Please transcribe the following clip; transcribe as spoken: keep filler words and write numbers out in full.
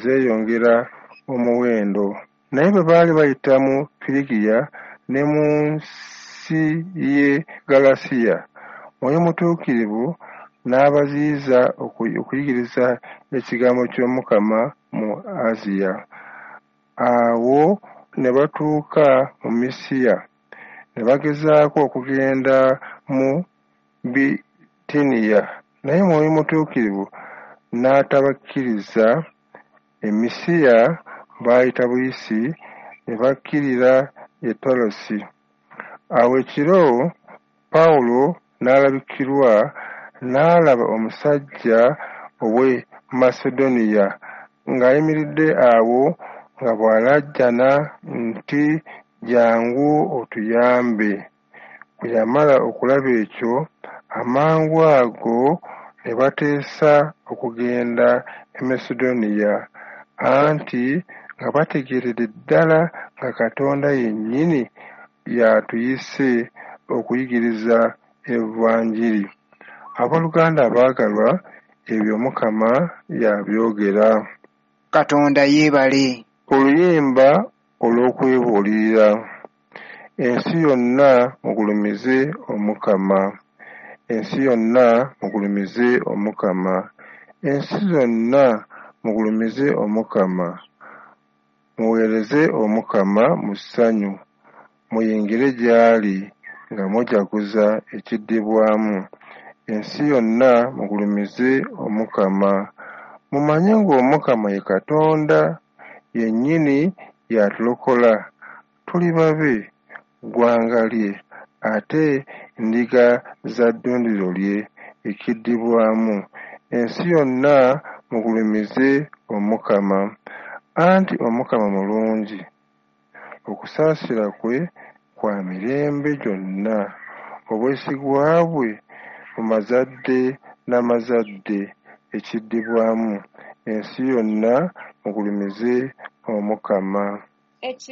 zeeyongera omuwendo. Naye bwe baali bayita mu Firigiya ne mu nsi y'e Ggalatiya, Mwoyo Mutuukirivu n'abaziyiza okuyigiriza ekigambo ky'Omukama mu Asiya. Awo ne batuuka mu Misiya, ne bagezaako okugenda mu Bitiniya, naye Mwoyo Mutuukirivu n'atabakkiriza. E Misiya baayita buyisi ne bakkirira e Tolosi. Awo ekiro Pawulo n'alabikirwa, n'alaba omusajja ow'e Masedoniya ng'ayimiridde awo nga bw'alaajana nti, “Jjangu otuyambe.” Bwe yamala okulaba ekyo, amangu ago ne bateesa okugenda e Masedoniya, anti nga bategeeredde ddala nga Katonda yennyini y'atuyise okuyigiriza Evanjiri. Abooluganda abaagalwa, ebyo Omukama y'abyogera. Katonda yeebale. Oluyimba olw'okwebuulirira. Ensi yonna mugulumize Omukama. Ensi yonna mugulumize Omukama. Ensi zonna mugulumize Omukama. Muweereze Omukama mu ssanyu, muyingire gy'ali nga mujaguza ekiddibwamu. Ensi yonna mugulumize Omukama. Mumanye ng'Omukama ye Katonda, yennyini y'atulokola, tuli babe, ggwanga lye, ate ndiga za ddundiro lye ekiddibwamu. Ensi yonna mugulumize Omukama. Anti Omukama mulungi, okusaasira kwe kwa mirembe gyonna, obwesigwa bwe mu mazadde n'amazadde ekiddibwamu. Ensi yonna mugulumize Omukama.